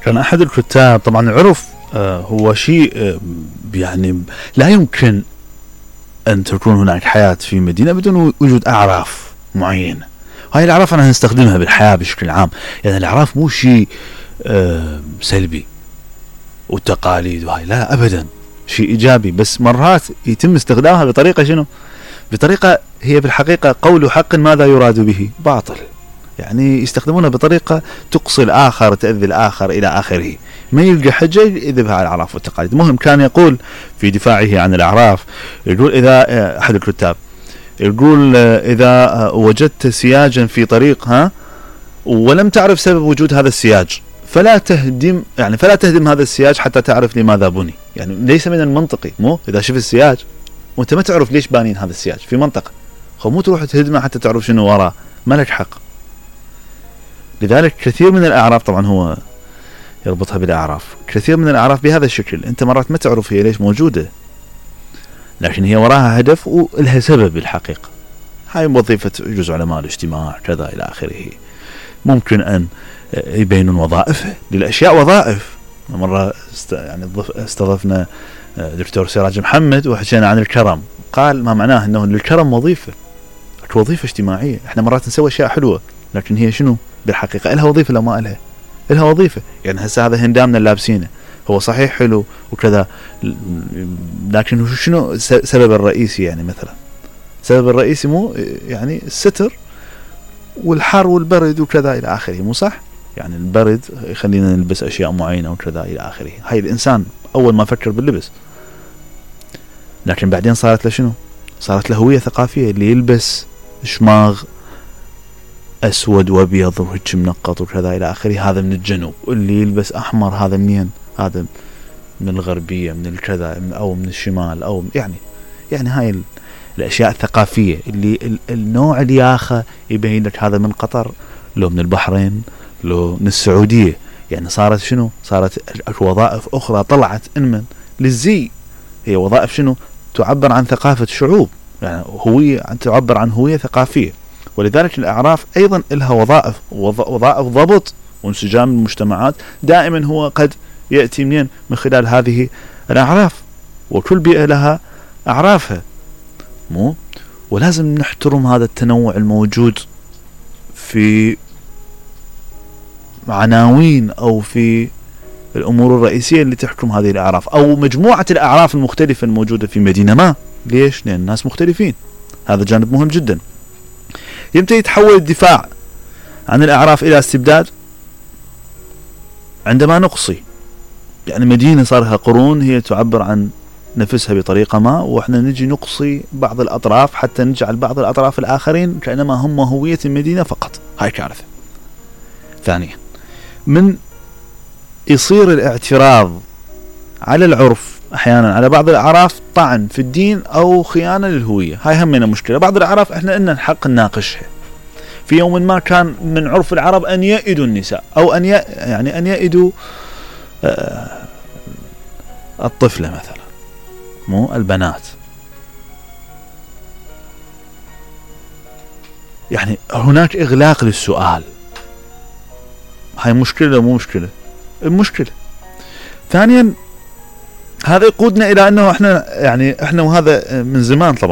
كان أحد الكتاب طبعا العرف هو شيء يعني لا يمكن أن تكون هناك حياة في مدينة بدون وجود أعراف معينة. هاي الأعراف أنا هنستخدمها بالحياة بشكل عام. يعني الأعراف مو شيء سلبي والتقاليد وهاي، لا أبدا، شيء إيجابي، بس مرات يتم استخدامها بطريقة شنو؟ بطريقة هي بالحقيقة قول حق ماذا يراد به باطل. يعني يستخدمونها بطريقة تقصي الآخر، تأذي الآخر إلى آخره، ما يلقى حجة يذهب على الأعراف والتقاليد. مهم كان يقول في دفاعه عن الأعراف، يقول إذا أحد الكتاب يقول إذا وجدت سياجا في طريق ولم تعرف سبب وجود هذا السياج فلا تهدم هذا السياج حتى تعرف لماذا بني. يعني ليس من المنطقي مو إذا شفت السياج وانت ما تعرف ليش بانين هذا السياج في منطقة، مو تروح تهدمه حتى تعرف شنو وراه، ما لك حق. لذلك كثير من الأعراف، طبعا هو يربطها بالأعراف، كثير من الأعراف بهذا الشكل، انت مرات ما تعرف هي ليش موجودة، لكن هي وراها هدف ولها سبب بالحقيقة. هاي وظيفة يجوز علماء الاجتماع كذا إلى آخره. ممكن أن يبينون وظائفها للأشياء وظائف. مرة يعني استضفنا دكتور سراج محمد وحكينا عن الكرم، قال ما معناه أنه للكرم وظيفة اجتماعية. احنا مرات نسوي أشياء حلوة لكن هي شنو بالحقيقة؟ إلها وظيفة لو ما إلها وظيفة. يعني هسه هذا هندامنا اللابسينه هو صحيح حلو وكذا، لكن شنو سبب الرئيسي؟ يعني مثلا سبب الرئيسي مو يعني الستر والحر والبرد وكذا إلى آخره، مو صح؟ يعني البرد يخلينا نلبس أشياء معينة وكذا إلى آخره. هاي الإنسان أول ما فكر باللبس، لكن بعدين صارت له شنو؟ صارت له هوية ثقافية، اللي يلبس شماغ أسود وأبيض وهيك منقط وكذا إلى آخره هذا من الجنوب، واللي يلبس أحمر هذا منين؟ هذا من الغربية، من الكذا أو من الشمال، أو يعني هاي الأشياء الثقافية اللي النوع الياخة يبين لك هذا من قطر لو من البحرين لو من السعودية. يعني صارت شنو؟ صارت وظائف أخرى طلعت إنمن للزي، هي وظائف شنو؟ تعبر عن ثقافة شعوب، يعني هوية، تعبر عن هوية ثقافية. ولذلك الأعراف أيضا لها وظائف ضبط وانسجام المجتمعات دائما هو قد يأتي منين؟ من خلال هذه الأعراف. وكل بيئة لها أعرافها، مو؟ ولازم نحترم هذا التنوع الموجود في عناوين أو في الأمور الرئيسية اللي تحكم هذه الأعراف أو مجموعة الأعراف المختلفة الموجودة في مدينة ما. ليش؟ لأن الناس مختلفين. هذا جانب مهم جدا. يمتى يتحول الدفاع عن الأعراف إلى استبداد؟ عندما نقصي، يعني مدينة صار لها قرون هي تعبر عن نفسها بطريقة ما، وإحنا نجي نقصي بعض الأطراف حتى نجعل بعض الأطراف الآخرين كأنما هم هوية المدينة فقط. هاي كارثة. ثانيا، من يصير الاعتراض على العرف أحيانا على بعض الأعراف طعن في الدين أو خيانة للهوية. هاي همنا مشكلة. بعض الأعراف إحنا إن الحق نناقشها. في يوم ما كان من عرف العرب أن يئدوا النساء أو أن يئدوا الطفلة مثلا، مو البنات. يعني هناك إغلاق للسؤال. هاي مشكلة مو مشكلة؟ المشكلة. ثانيا، هذا يقودنا إلى أنه إحنا وهذا من زمان طبعا